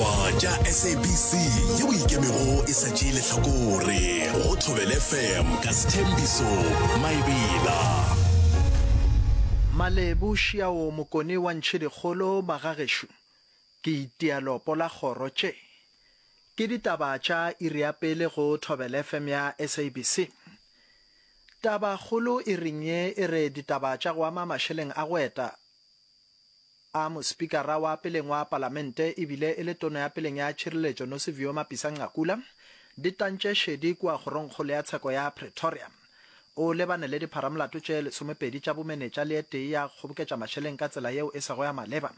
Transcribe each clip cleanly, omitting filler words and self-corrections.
Ditaba tša SABC yeo e ikemego e sa tšee lehlakore go Thobela FM ka Sthembiso Maebela. Malebo Šiao Mokone wa Ntšhidikgolo Magagešo ke itia lopo la kgoro tše ke ditaba tša iri ya pele go Thobela FM ya SABC. Taba kgolo iring ye e re ditaba tša go ama mašeleng a go eta a Mospikara wa peleng wa Palamente e bile e le Tona ya peleng ya Tšhireletšo Nosiviwe Mapisa-Nqakula di tantše šedi kua Kgorongkgolo ya Tsheko ya Pretoria. O lebane le dipharamolato tše lesomepedi tša bomenetša le e tee ya go kgoboketša mašeleng ka tsela yeo e sego ya maleba.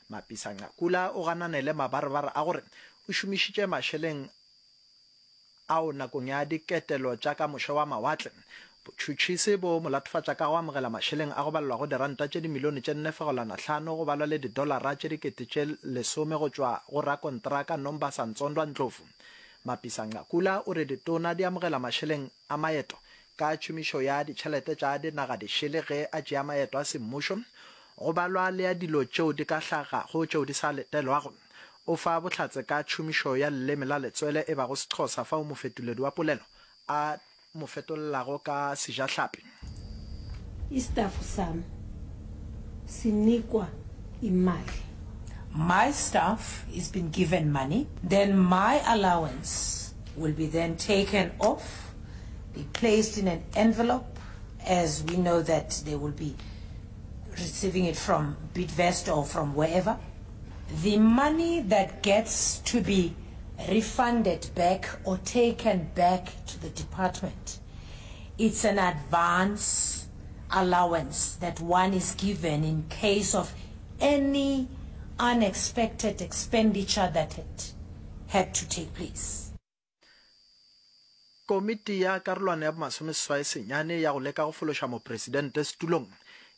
Mapisa-Nqakula o ganane le mabarebare a gore o šomišitše mašeleng ao nakong ya diketelo tša ka moše wa mawatle. Botšhotšhisi bo mo latofatša ka go amogela mašeleng a go balelwago diranta tše dimilione tše nne fegelwana hlano go balwa le didolara tše dikete tše lesome go tšwa go rakontraka Nombasa Ntsondwa Ndlovu. Mapisa-Nqakula o re ditona di amogela mašeleng a maeto ka tšhomišo ya ditšhelete tša dinaga dišele ge a tšea maeto a semmušo go balwa le ya dilo tšeo di ka hlagago tšeo di sa letelwago. O fa bohlatse ka tšhomišo ya leleme la letswele e bago Sexhosa fao mofetoledi wa polelo a mo fetolelago ka Sejahlapi. Istafu sam sinikwa imali. My staff is been given money, then my allowance will be then taken off, be placed in an envelope as we know that they will be receiving it from Bidvest or from wherever. The money that gets to be refunded back or taken back to the department, it's an advance allowance that one is given in case of any unexpected expenditure that had had to take place. Komiti ya karolwana ya bomasomeseswai senyane ya go leka go fološa mopresidente setulong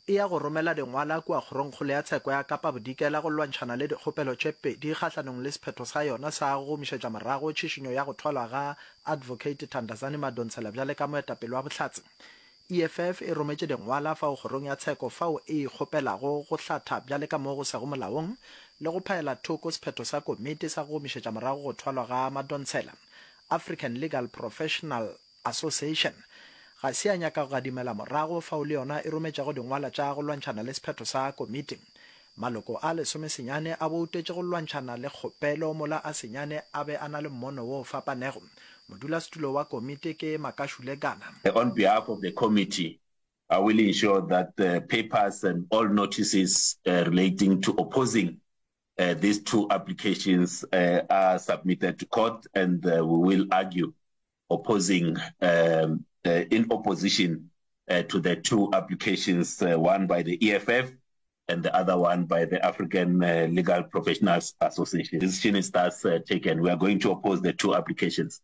e ya go romela dingwala kua Kgorongkgolo ya Tsheko ya Kapa Bodikela go lwantšhana le dikgopelo tše pedi kgahlanong le sephetho sa yona sa go gomišetša morago tšhišinyo ya go thwalwa ga Advocate Thandazani Madonsela bjale ka moetapele wa bohlatse. EFF e rometše dingwala fao kgorong ya tsheko fao e ikgopelago go hlatha bjale ka mo go sego molaong le go phaela thoko sephetho sa komiti sa go gomišetša morago go thwalwa ga Madonsela. African Legal Professional Association ga se ya nyaka go gadimela morago fao le yona e rometšego dingwala tša go lwantšhana le sephetho sa komiti. Maloko a lesomesenyane a boutetše go lwantšhana le kgopelo mola a senyane a be a na le mmono wo o fapanego. Modulasetulo wa komiti ke Makashule Gana. On behalf of the committee, I will ensure that the papers and all notices relating to opposing these two applications are submitted to court and we will argue opposing in opposition to the two applications, one by the EFF and the other one by the African Legal Professionals Association. Decision is thus taken. We are going to oppose the two applications.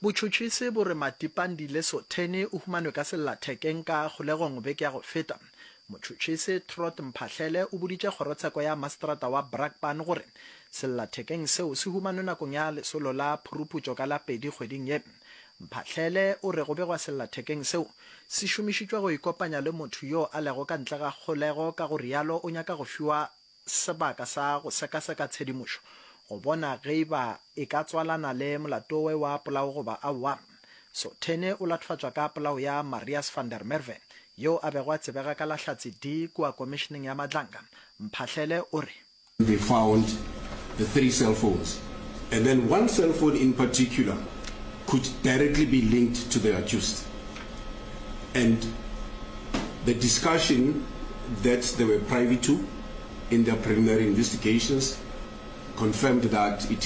Botšhotšhisi bo re Matipandile Sotheni o humanwe ka sellathekeng ka kgolegong beke ya go feta. Motšhotšhisi Trot Mphahlele o boditše kgorotsheko ya maseterata wa Brakpan gore sellathekeng seo se humanwe nakong ya lesolo la phuruphutšo ka la pedi kgweding ye. Mphahlele o re go begwa sellathekeng seo se šomišitšwe go ikopanya le motho yo a lego ka ntle ga kgolego ka go realo o nyaka go fiwa sebaka sa go sekaseka tshedimošo go bona ge e ba e ka tswalana le molato we wa polao goba aowa. Sothene o latofatšwa ka polao ya Marius van der Merwe, yo a bego a tsebega ka la Hlatse D kua Komišeneng ya Madlanga. Mphahlele o re. They found the three cell phones and then one cell phone in particular could directly be linked to the accused and the discussion that they were privy to in their preliminary investigations confirmed that it is.